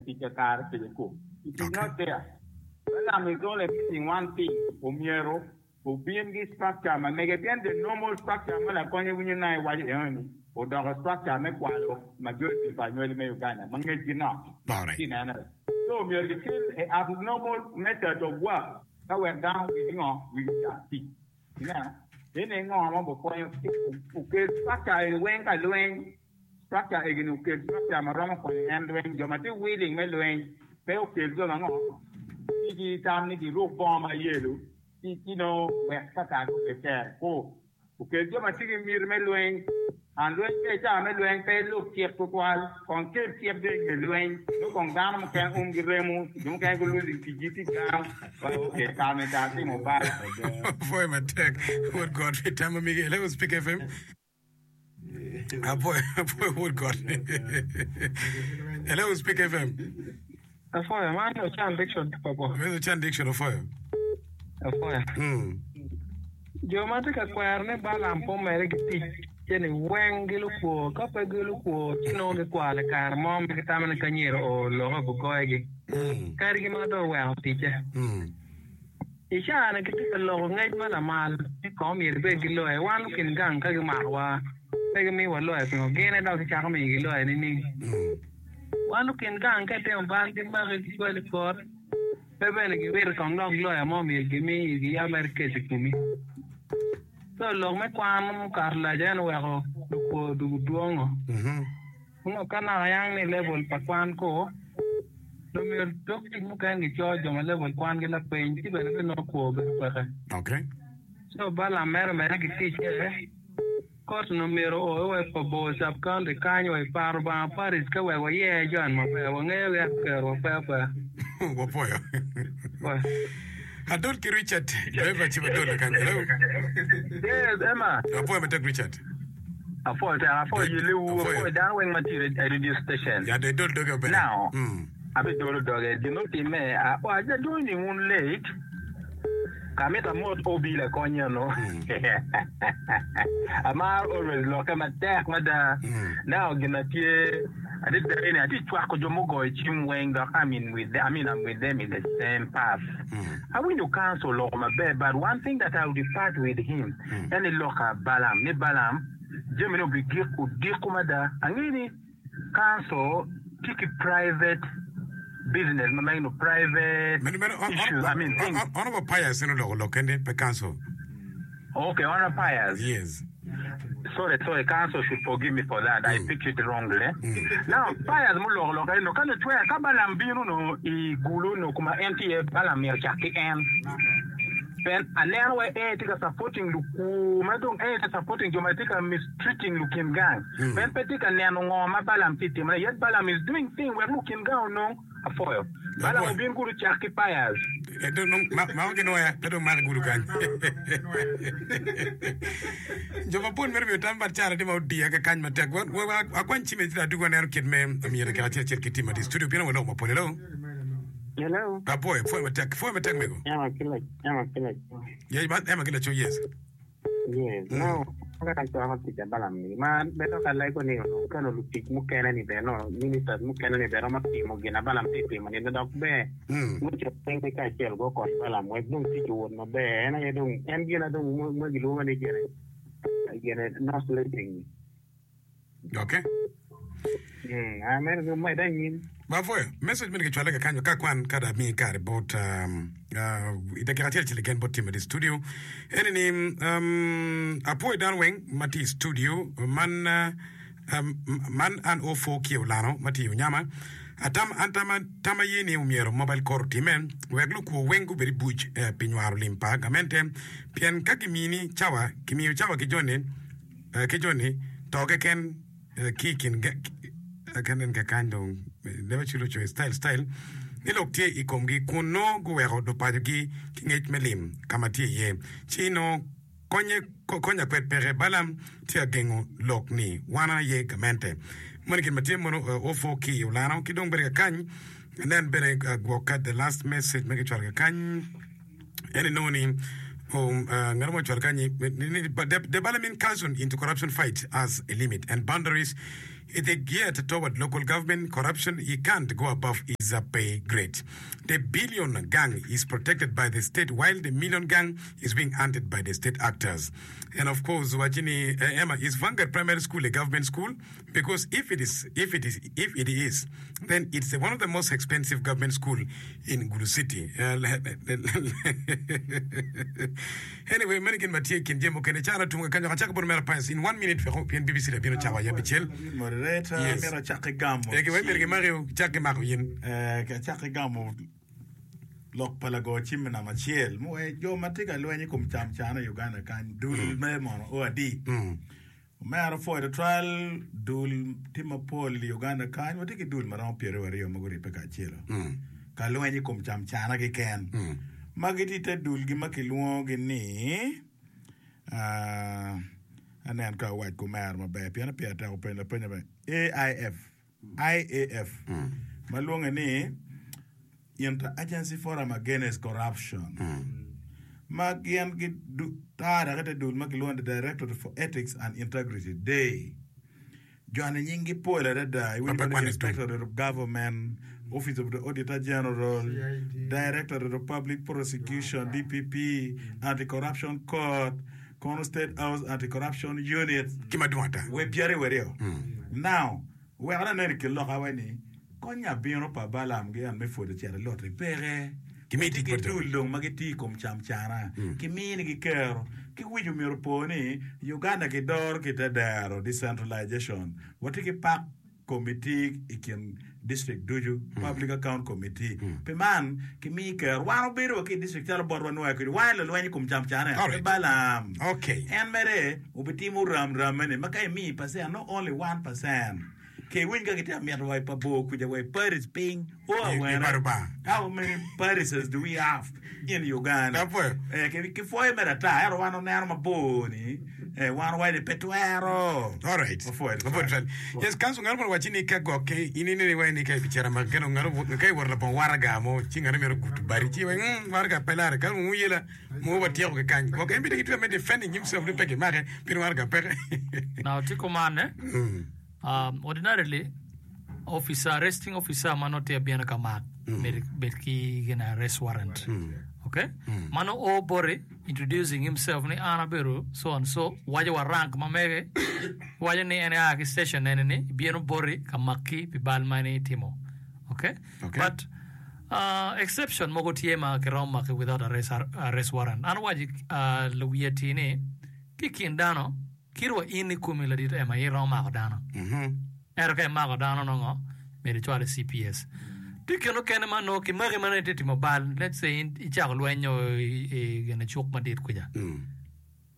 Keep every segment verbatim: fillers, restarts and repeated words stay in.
tic kakare kede ko. It is not there. Balaam is only missing one thing, omyero obin gi structure ma mege pien the normal structure ma lakonye winyo na iwaco enoni odoko structure me kwalo majority pa anywali me Uganda ma ngecgi nok. Alright. Ci nenere. So omyero gikel a abnormal method of work ka wek dano wigi ngo wigi cak tic. Ineno? Ene ngo ma obikonyo okel structure eni weng ka lweny structure egini okel structure ma romo konyo en lweny jo ma tye willing me lweny pe okel jo ma ngo ci gitam ni giruk bongo ma yelo ci ci nongo wek kaka gubed tek ko okel jo ma tye ki miti me lweny an lweny pe i cawa me lweny pe ilub cik tutwal kong kel cik dong inge lweny nongo kong dano mukene umgi remo jo mukene gulosing ticgi tye gang okay kare ni tar timo bal Apwoyo matek wod got pi tam ma migi. Hello, Speak F M. Apwoyo, apwoyo wod got. Hello, Speak F M. Afoyo, man Ochan Dickson ki Pabo. Meno Ochan Dickson ofoyo. Afoyo. Mm. Jo ma tye ka kwero ni Balaam pe omedde ki tic ce ni weng gilukwo. Ka pe gilukwo, ci nongo gikwalo i kare mo ma gitamo ni ka myero oo lok obigoyogi. Mm. Kadigi ma dong oweko ticce. Mm. I caa-ni gitye ka loko ngec ma lamal ni kong myero ibed ki loya. Wan lukin gang ka gimakowa pe gimiyowa loya pingo gin aye dok gicako miyogi loya nining? Mm. Wan lukin gang ka itimo bal gimaki gicwali i kot pe bene giwito kong dok loya mo myero gimi giyab mere kec i komi. So lok me kwan mukato lac en oweko lukwo odwogo dwongo. Mhm. Onongo ka naka yang ni level pa kwan ko dong myero dog tic mukene gico jo ma level kwangi lapiny ci bene binongo kwo bedo peke. Okay. So Balaam mere omedde ki ticce. Kot onongo myero oo wa i Pabor sub county kany wa i Paro Banga Parish ka wek wayer jo en maber wangeyo gi ento kerowa pe apeya. Wapoyo. Wa. Adol ki Richard. Driver ci wadolo kany. Hello. Yes, Emma. Apoyo matek Richard. Afoyo tek, afoyo yelewu, Afoyo. Afoyo dano weng ma tye i radio station. Ya do idol doge obene. Now, Mm. abidolo doge. Gin otimme, a- oh, aja joining un late. Kamita mot obi lakony eno. Amaro always lokke matek mada. Mm. Now gin na tye adada eni atye cwako jo mugoyo cim weng dok I'm in with them, I mean I'm with them in the same path. Mm. Awinjo council oloko maber, but one thing that I would depart with him Mm. en ni loka Balaam ni Balaam jami ni obigik odiko mada angeyo ni council tye ki private business ma meno private Meno meno on- issues, I mean on- things. on- Honorable Pius en oloko lok kende pe council. Okay, Honorable Pius. Yes. Sorry, sorry, council should forgive me for that. I Mm. picked it wrongly. Mm. Now, Pius muloko lok eno, ka notwera ka Balaam bino no i gulu no kuma en tye Balaam myero cak ki en. Pen aneno wa en tye ka supporting lukwo ma dong en tye supporting jo ma tye ka mistreating lukin gang. Mm. Pen pe tye ka neno ngo ma Balaam tye timone. Yet Balaam is doing thing wek lukin gang onong afoyo. Balaam Afoyo. obin kudu cak ki Pius. Eh, dong dong ma ma ginoya pe dong mako gudo kany. Jo mapol mere miyo tam bat cara tye ma odiya kakany matek. Wa- wa- wa- Akwany cim ci adugo aneno kit me myero kek acel acel ki tim ati studio pien waloko mapol. Hello. Hello. Apoyo, pwoyo matek, pwoyo matek mego. Ema ki la ema ki laco. Yeah, ba ema ki laco, yes. Yes. Mm. No, ka cwako tic a Balaam ni ma bedo ka lego ni onongo kelo lutic mukene ni bene no ministers mukene ni bene romo timo gin a Balaam tye timo ni dok ber. Mm. Guco piny ki kacel gukony Balaam wek dong tic owot maber. En aye dong en gin a dong ma ma gilwongo ni gine gine no sleeping. Okay. Mm, ah, meno medde anyim. Ba pwoyo. Message meno kicwale kakanyo ka kwan ka da miyi kare bot um, uh, i dakika acel acel keken bot team i studio. Eni ni um, apwoyo dano weng ma tye i studio man uh, um, man an ofo ki olano ma tye i Onyama. Atam an tama tama ye ni omyero mobile court otime wek lukwo weng gubed i buc eh, pi nywaro lim pa gamente pien ka gimini cawa kimiyo cawa ki joni eh, ki joni to keken eh, ki i kin kanen kakany dong leba culo coyo style style ni lok tye i komgi kun nongo guweko lupacogi ki ngec me lim ka ma tye iye ci nongo konye konya kwed peke Balaam tye ka gengo lok ni wan aye gamente moni gin ma tye mono ofo ki olano ki dong bene kakany nen bene gwoka the last message ma kicwalo kakany en inongo ni um, uh, ngat mo ocwalo kanyi ni, ni, but the, the Balaam incursion into corruption fight has a limit and boundaries. It is geared toward local government corruption. He can't go above his uh, pay grade. The billion gang is protected by the state while the million gang is being hunted by the state actors. And of course, Wachini uh, Emma is Vanguard Primary School a government school? Because if it is, if it is, if it is, then it's one of the most expensive government school in Gulu City. Uh, anyway, many kin matie kin jemo kene chara tunga kanyo kachaka bor mera pines in one minute feko pien B B C da bino chawa ya bichel. Moderator, Yes. mera chake gamo. Eke we merge mario chake mako yin. Eh, ka chake gamo lok pa lago cim me namba acel muwe jo ma tye ka lweny i kom cam cana i Uganda kany dul me mono o adi. Omera pwoyo tutwal dul tye mapol i Uganda kany watye ki dul maromo pyeraryo aryo ma guribbe kacelo ka lweny i kom cam cana keken ma gitye i te dulgi ma kilwongogi ni ah, anen ka awac ki omera maber pien pire tek openyo lapeny maber A I F I A F ma lwonge ni Inter-Agency Forum Against Corruption ma gin gitara ki te dul ma kilwongo ni Directorate for Ethics and Integrity Day joni nyinggi pol adada. Iwinjo Papa ni kwan i Inspectorate of Government, Office of the Auditor General, Directorate of Public Prosecution, D P P, Anti-Corruption Court, Kono State House Anti-Corruption Unit. Ki madwong ata. We pyeraryo aryo now wek aneno i kin lok awe ni konya bino pa Balam gi an me pwodo cito loti peke. Kimi Watye tic ki bot dul dong ma gitye i kom cam cana kiminigi kero ki wic omyero po ni Uganda kidoro ki te dero decentralization watye ki PAC committee i kin district ducu, public account committee. Pi man kimi kero wan obedo wa ki i district calo botwa nwoya kwede wan lulweny i kom cam cana All pe right. Balam Okay. en mere obitimo ramrame-ni ma ka imi percent no only one percent ke winy ka gitye mito wa i pa bor kuca wa i Paris piny o I awene. baro ba. How many Parises do we have in Uganda? Apwoyo. Eh, ki ki pwoyo mere ata ento wan oneno mabor ni eh, wan owaco ni pe twero. All right. Apwoyo. Apwoyo twal. Yes, council ngaro mono wachi ni ka gokke in inene wai ni ka ibichera ma keno ngaro ka iworo labongo waraga mo ci ngaro mero gutu bari ci wai mm waraga pe lare ka mu yela mu watieko ke kany. Gokke en bide kitwe me defending himself ni peke make pin waraga peke. Now, tiko man, um, ordinarily, officer, arresting officer mano te abino ka mak, bed, bed ki gina arrest warrant. Okay? Mano o bori introducing himself ni an abedo so and so, wajo wa rank ma mege, wajo ni en a ki station ene ni, bino bori ka maki pi bal mani timo. Okay? Okay. But uh, exception mogo tye ma kiromo maki without arrest, arrest warrant. An wajo uh, luwiye ti ni, ki kin dano, kirwa in i komi ladit ema iromo mako dano. Ento ka imako dano nongo, myero icwal i C P S. Tye kine okene ma nongo kimaki mana itye timo bal, let's say in icako lweny o i, i gine cuk madit kuca.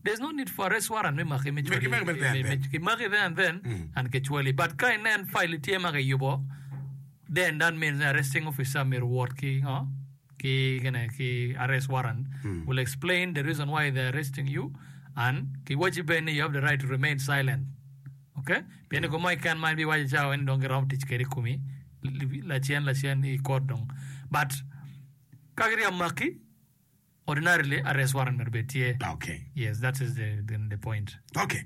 There's no need for arrest warrant me maki me cwali. Kimaki there and then. Kimaki there and then and kicwali. But ka inen file tye ma kiyubo, then that means the arresting officer myero wot ki ngo ki gine ki arrest warrant will explain the reason why they're arresting you and kiwaci bene ni you have the right to remain silent. Okay? Pien mm. mo ikan man bi waci cawa ni dong giromo tic kede i komi lacen lacen i court dong. But ka gitye ka maki, ordinarily arrest warrant myero bed tye. Okay. Yes, that is the, the, the point. Okay.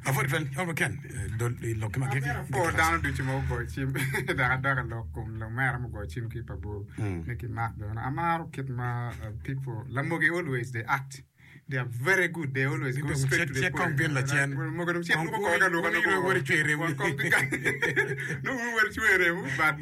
Apwoyo twal. Honorable Ken, dol lokki ma giki. Po dano ducu ma ogoyo cim dok adok i lok kom lumera mugoyo cim ki pa bor ni kimak bene amaro kit ma uh, people lamogi always they act, they are very good, they always go straight to the Cek kong point. bin lacen. Mogo dong cek Kong luko koga luka wuri- wuri- wuri cwer remo. Kong bi ka- no wuri cwer remo, but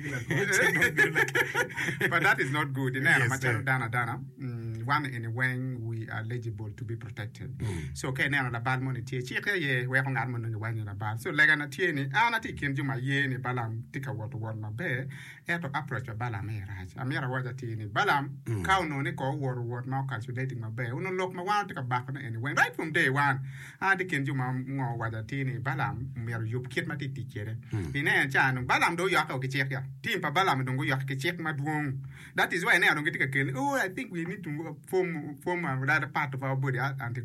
but that is not good ineno. Yes, Macalo sir. dano adana mm, wan in weng we are eligible to be protected, so ka ineno labal moni tye cik aye weko ngat mo nongo iwaco ni labal so legana tye ni an atye i kin jo ma ye ni Balam tye ka woto wot maber ento approach pa Balam aye rac. Amyero awac atir ni Balam ka onongo ni ko owoto wot ma ocalculating maber onongo lok ma wan watye ka bakone eni weng right from day one. An atye i kin jo ma ngo owaco atir ni Balam myero oyub kit ma tye tic kwede. Ineno ca dong Balam dong oyokke ki cik ya team pa Balam dong oyokke ki cik madwong. That is why ineno dong gitye ka kelo ni oh, I think we need to form form another part of our body, anti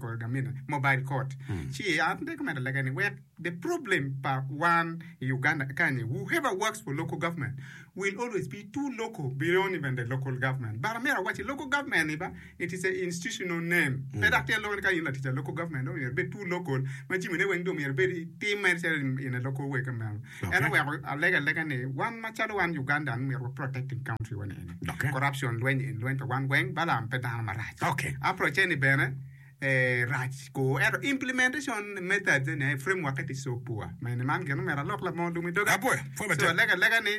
mobile court. Ci an recommend lega ni wek the problem pa one i Uganda kany, whoever works for local government will always be too local beyond even the local government. But amyero awaci local government ni ba it is a institutional name. Pe dok tye loko ni ka in latic a local government dong myero ibed too local ma jami ne weng dong myero ibed itim mere calo in a local way kumeno. En oweko alega alega ni wan macalo wan Ugandan myero wa protecting country wa ni eni. Corruption lweny eni lweny pa wan weng Balaam pe dano marac. Approach eni bene rac ko ento implementation methods eni framework it is so poor. Mene man gin omyero alok labongo lum i doga. So alega alega ni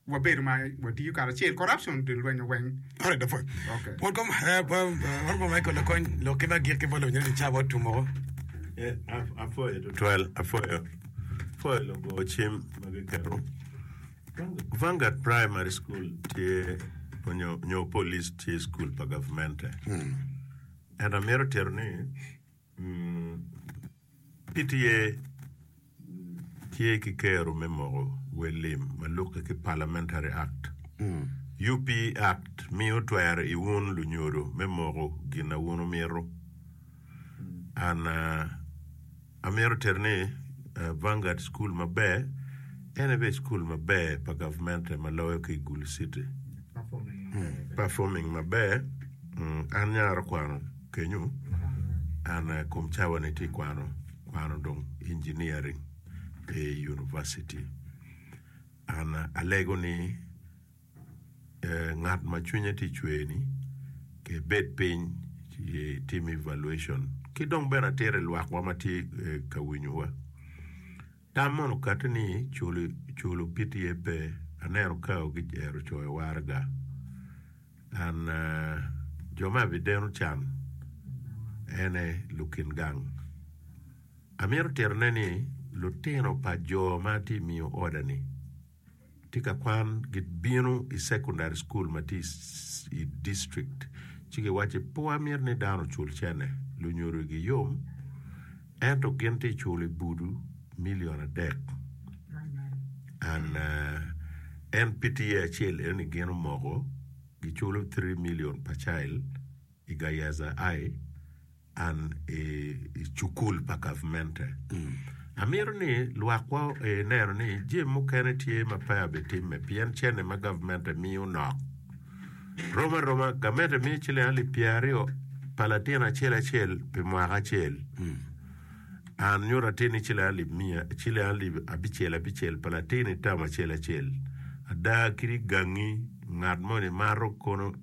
wabedo ma watiyo karacel corruption di lwenyo weng. Alright, apwoyo. Okay. Welcome, eh, Honorable Michael Lakony, lok ki me agikki bot lawinyo ni cawa otum woko. Eh, apwoyo tutwal, apwoyo. Apwoyo lugo cim ma giketo. Vanguard Primary School tye onyo nyo police tye school pa gavmente. Ento amito tito ni P T A tye ki kero me moko wel lim ma lukke ki Parliamentary Act. U P Act miyo twero i wun lunyodo me moko gin na wun wumito. An amito tito ni Vanguard School maber en aye bene cukul maber pa gavmente ma loyo ki i Gulu City. Performing maber. An nyaro kwano kenyo, an kom cawa ni tye kwano kwano dong engineering i university. An alego ni ngat ma cwinye tye cwer ni kebed piny ci tim evaluation ki dong bene atito i lwakwa ma tye ka winyowa. Tam mono okati ni culo P T A pe, aneno kao gicero coyo waraga. An jo ma abideno can ene lukin gang. Amito titone ni lutino pa jo ma atye miyo oda ni tye ka kwan gibino i secondary school ma tye i district ci giwacci pe wamito ni dano ocul cene lunyodo giyom ento gin tye culo i budu million adek and en P T A acel eno ni gin omoko giculo three million per child i Gayaza I and i cukul pa gavmente. Amito ni lwakwa neno ni jami mukene tye ma pe abitimme pien cene ma gavmente miyo nok. Rom aroma, gamente miyo ciling alip pyeraryo pa latin acel acel pi mwaka acel. An nyuto atir ni ciling alip miya, ciling alip abicel abicel pa latin i term acel acel. Ada kadi gangi ngat moni mato kono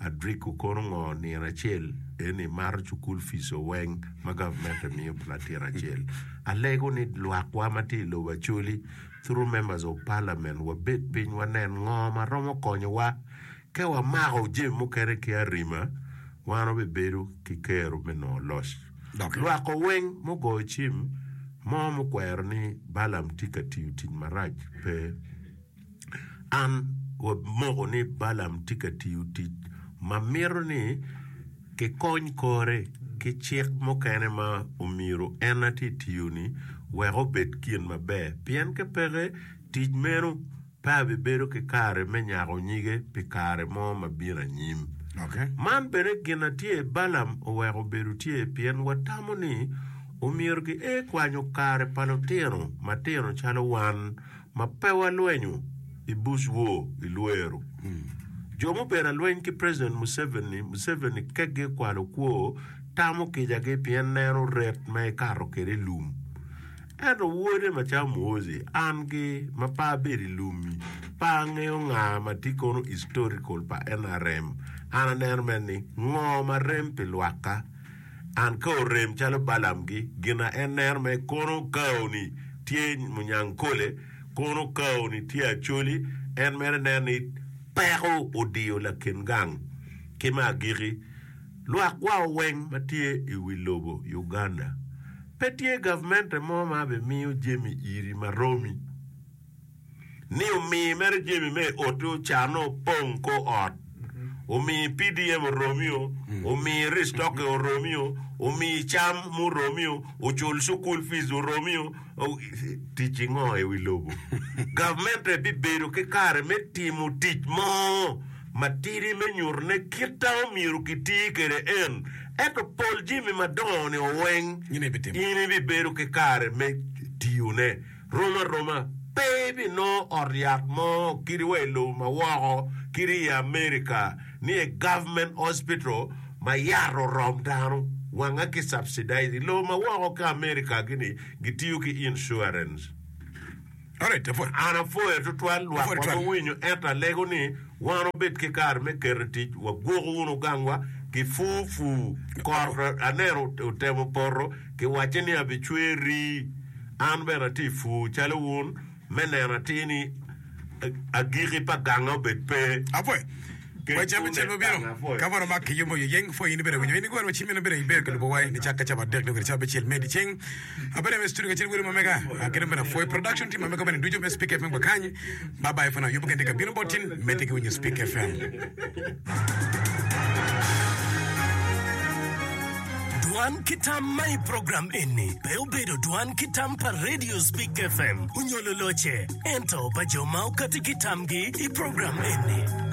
Adriko kono ngo nino acel eni mato cukul fees weng ma gavmente miyo pi latin acel. Alego ni lwakwa ma tye i lobo Acholi through members of parliament wabed piny wanen ngo ma romo konyowa ka wamako jami mukene ki arima wan wabibedo ki kero me nongo loc. Lwako weng mugoyo cim mo mukwero ni Balaam tye ka tiyo tic marac pe. An wamoko ni Balaam tye ka tiyo tic ma mito ni kikony kore ki cik mukene ma omyero en aye tye tiyo-ni wek obed gin maber, pien ka peke, tic meno pe abibedo ki kare me nyako nyige pi kare mo ma bino anyim. Man bene gin a tye Balaam oweko obedo tye pien watamo ni omyero gie kwanyo kare pa lutino matino calo wan ma pe walwenyo i Bush War i Lwero. Jo mubedo alweny ki President Museveni, Museveni keggi kwalo kwo, tamo kicagi pien neno ret ma ekato kwede i lum. Ento wode macalo Muhoozi, an gi ma pe abedo i lum-mi, pe angeyo nga ma tye kono historical pa N R M. An aneno mere ni ngo ma rem pi lwakka. An ka orem calo Balaam-gi, gin a en neno me kono kao-ni tye Munyankole, kono kao-ni tye Acholi, en mere neno ni peko odiyo lakin gang. Ki me agiki, lwak wa weng ma tye i wi lobo Uganda, pe tye gavmente mo ma bimiyo jami iri ma romi. Ni omi mere jami me i oti ocanne opong kor ot, omi P D M oromio, omi restocking oromio, omi cam muromio, ocul cukul fees oromio, tic ingo i wi lobo? Gavmente bibedo ki kare me timo tic mo matidi me nyuto ne kita omyero kiti kwede en, ento pol jami madongo ni oweng in ibibedo ki kare me tiyone. Rom aroma, Pe ibinongo ot yat mo kadi wa i lobo ma woko kadi i America ni a government hospital ma yat orom dano wanga ki subsidize. I lobo ma woko ki America gini gitiyo ki insurance. An apwoyo tutwal lwak ma guwinyo ento alego ni wan wubed ki kare me keto i tic wagwoko wunu gangwa ki pur pur. Kot aneno otemo poto kiwacce ni abicwer rii. An bene atye i pur calo wun me neno atir ni agikki pa ganga obed pe. Apwoyo. Wa cam acel ma bino, ka mono mak ki yombo yeng, pwoyo in ibedo winyo. In igweno cim in ibedo ibedo ka lubo wa nicakke cawa adek nyo kwede cawa abicel me dyeceng. Abedo me studio kacel welo ma mega, kede bene apwoyo production team ma mega bene ducu me Speak FM wa kany. Bye bye for now. Yubo kende ka bino bot tin, medde ki winyo Speak FM. Dwan ki tam ma i program eni pe obedo dwan ki tam pa Radio Speak FM onyo loloce, ento pa jo ma okati ki tamgi i program eni.